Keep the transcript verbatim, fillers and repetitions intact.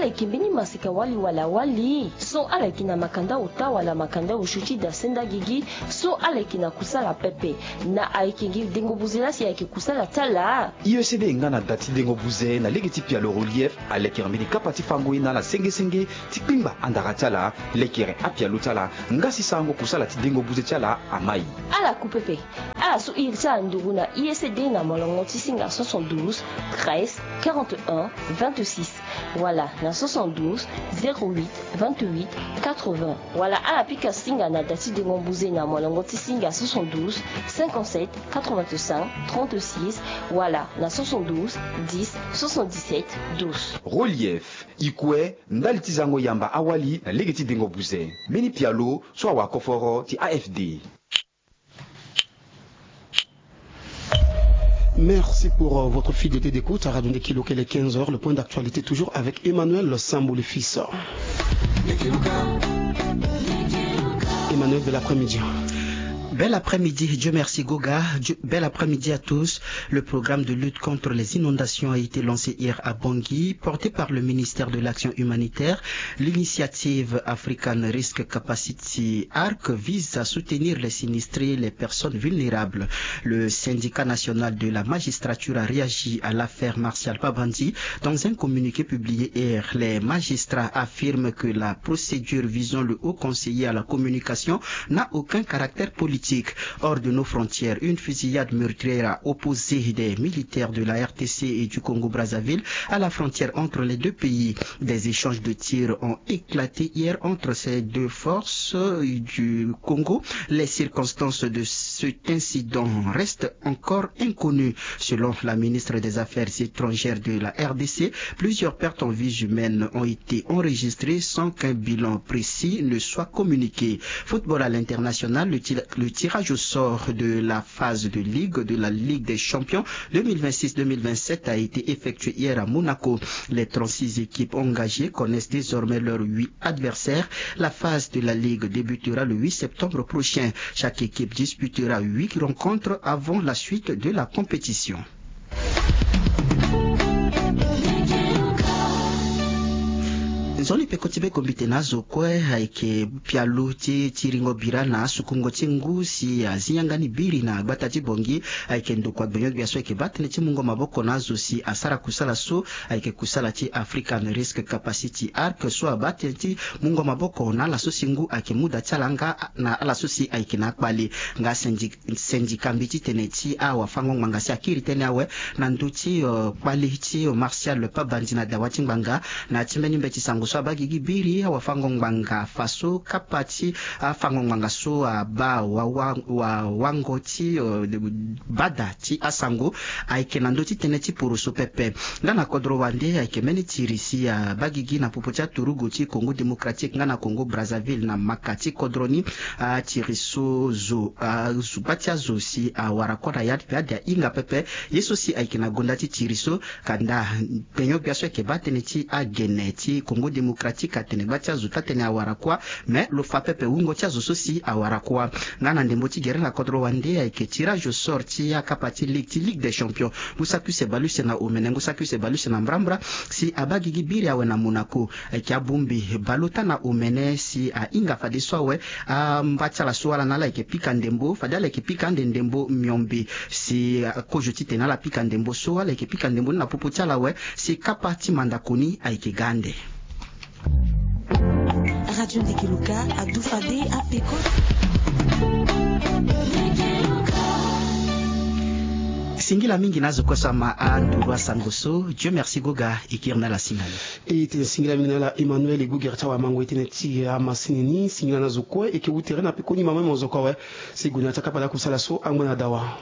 Ala yeke mbeni maseka wali wala wali so ala yeke na makanda ota wala makanda osio ti da senda gigi. So ala yeke na kusala pepe. Na ayeke gi dengo buze laa si ayeke kusala ti ala. I E C D nga na da ti dengo buze na lege ti pialo Relief alekere mbeni kapa ti fango ye na ala senge senge ti kpingba andara ti ala, lekere apialo ti ala nga si sarango kusala ti dengo buze ti ala amai. Ala ku pepe. Ala su iri ti ala nduru na I E C D na molongo ti singa soixante-douze, treize, quarante et un, vingt-six, wala na soixante-douze, zéro huit, vingt-huit, quatre-vingts. Wala ala pika singa na da ti dengo buze na molongo ti singa soixante-douze, cinquante-sept, quatre-vingt-cinq, trente-six, wala na soixante-douze, dix, soixante-dix-sept, douze. Relief, i kue ndali ti zango yamba awali na lege ti dengo buze. Mbeni pialo so awakoforo ti A F D. Merci pour, euh, votre fidélité d'écoute à Radio Ndeki Loka. Il est quinze heures, le point d'actualité toujours avec Emmanuel Sambo le fils. Emmanuel, bel après-midi. Bel après-midi, Dieu merci Goga. Dieu- bel après-midi à tous. Le programme de lutte contre les inondations a été lancé hier à Bangui, porté par le ministère de l'Action humanitaire. L'initiative African Risk Capacity ARC vise à soutenir les sinistrés, les personnes vulnérables. Le syndicat national de la magistrature a réagi à l'affaire Martial Pabandi. Dans un communiqué publié hier, les magistrats affirment que la procédure visant le haut conseiller à la communication n'a aucun caractère politique. Hors de nos frontières, une fusillade meurtrière a opposé des militaires de la R T C et du Congo-Brazzaville à la frontière entre les deux pays. Des échanges de tirs ont éclaté hier entre ces deux forces du Congo. Les circonstances de cet incident restent encore inconnues. Selon la ministre des Affaires étrangères de la R D C, plusieurs pertes en vies humaines ont été enregistrées sans qu'un bilan précis ne soit communiqué. Football à l'international, le, ti- le tirage au sort de la phase de ligue de la Ligue des Champions deux mille vingt-six deux mille vingt-sept a été effectué hier à Monaco. Les trente-six équipes engagées connaissent désormais leurs huit adversaires. La phase de la Ligue débutera le huit septembre prochain. Chaque équipe disputera huit rencontres avant la suite de la compétition. Nzoni peko ti be kombite na azo kue ayeke pialo ti tiringo bira na asukungo ti ngu si azi yanga ni biri na gbata ti Bongi. Ayeke ndokua gbenyo-gbia so ayeke baa tënë ti mungo maboko na azo si asara kusala so ayeke kusala ti African Risk Capacity Arc so abaa tënë ti mungo maboko na ala so si ngu ayeke mu da ti ala nga na ala so si ayeke na akpale. Nga syndic- syndicat mbi ti tene ti awafango-ngbanga si akiri tënë awe na ndö ti kpale ti Martial Pabandi na dawa ti ngbanga na ya ti mbeni mbeti sango so abaa gigi biri awafango-ngbanga fa so kapa ti afango-ngbanga so abaa wawango ti bada ti asango ayeke na ndö ti tënë ti poroso pepe. Nga na kodro wande ayeke mbeni tiri si abaa gigi na popo ti aturugu ti Congo Démocratique nga na Congo Brazzaville na maka ti kodro ni. Atiri so zo azuba ti azo si awara kua na ya ti pe ade ahinga pepe. Ye so si ayeke na gonda ti tiri so kanda gbenyo-gbia so ayeke baa tënë ti agene ti Congo Démocratique atene gba ti azo taa tënë awara kua. Mais lo fa pepe wungo ti azo so si awara kua. Nga na ndembo ti gere na kodro wande ayeke tirage au sort ti akapa ti ligue ti Ligue des Champions. Ngu saki use bale use na omene ngu saki use bale use na mbrambra si abaa gigi biri awe na Monaco. Ayeke abongbi baleota na omene si ahinga fadeso awe. Amba ti ala so ala na ala ayeke pika ndembo fade ala yeke pika ande ndembo miombe. Si akozo titene ala pika ndembo so ala yeke pika ndembo ni na popo ti ala awe si kapa ti mandako ni ayeke ga ande. Radio Ndeke Luka adu fade apeko. Singila mingi na azo kue so ama anduru asango so. Dieu merci Goga e kiri na ala si na ni. E tene singila mingi na ala Emmanuel e gue gere ti awamango e tene ti amasini ni singila na azo kue e ke wu tere na pekoni mama mozoko awe. Si e gue na ya ti akapa ti akusala so angba na dawa.